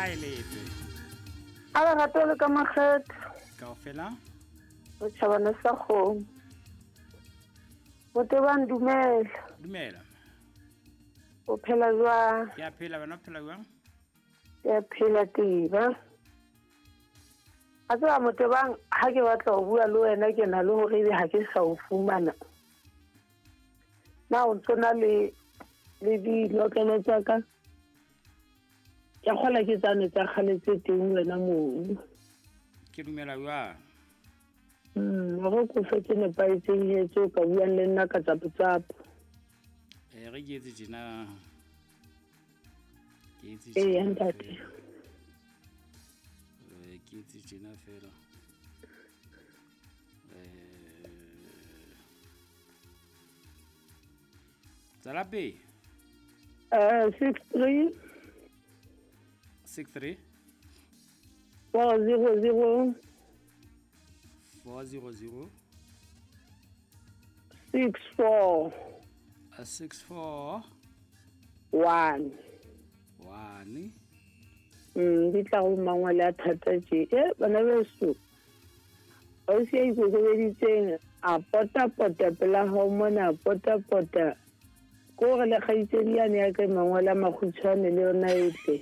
A e letse. A lerato le ka makgetho. Kaofela. Re tjhabana sa kgomo. Motebang dumela. Dumela. O phela jwang? Ke a phela, wena o phela jwang? Ke a phela teba. A tseba Motebang ha ke batla ho bua le wena ke na le hore ebe ha ke sa o fumana. Na o ntso na le le dinotlolo tsa ka? Ke kgola ke tsane tsa kgale tse teng wena mono. Ke dumela jwang? Hore ko fe tse nepahetseng he tse o ka buang le nna ka tsapo-tsapo. Re ke etse tjena. Ke etse Ee, tjena ntate. fela. Ke etse tjena fela. Tswela pele. 63. 63. 400. 400. 64. 64. 1. 1. Di tla go mangwele a thata tje. Bana beso. Ausi ya ikokobeditseng a pota-pota pela hao mona, a pota-pota. Ko re le kgaitsedi yane ya ka mangwele a makgutshwane le yona e tle.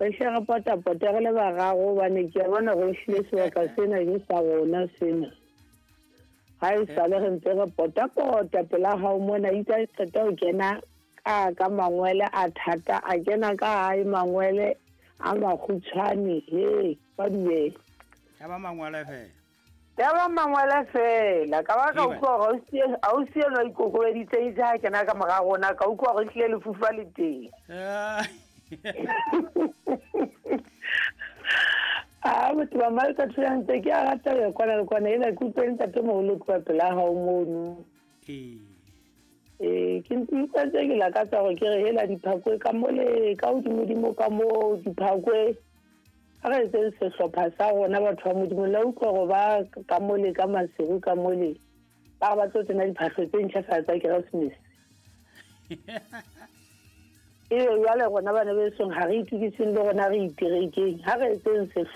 Re hle re pota-pota re le bararo hobane ke a bona hore ehlile sebaka sena ke sa rona sena. Ha e sale re ntse re pota-pota pela hao mona, itse ha e qeta ho kena ka mangwele a thata, a kena ka hae mangwele a makgutshwane, he, ba dumela. Ya ba mangwele fela. Ya ba mangwele fela. Ka ba ka Eba. utlwa hore ausi enwa ikokobeditse itse ha kena ka mora rona, ka utlwa hore ehlile lefufa le teng. Ah, motho ba mmaleka tholang tse ke a rata ho ya kwana le kwana, ena ke utlwe ntatemoholo tloha pela hao mono. Ee. Ke ntse utlwa tse ke lakatsa hore ke re hela diphakwe ka mole, ka hodimodimo ka moo diphakwe. Ha re etseng sehlopha sa rona batho ba Modimo, la utlwa hore ba ka mole, ka Maseru ka mole, ba re ba tlo tsena diphahlo tse ntjha fela tsa Keresemese. Ebe jwale rona bana besong ha re itukiseng le rona re iterekeng, ha re etseng sehlopha.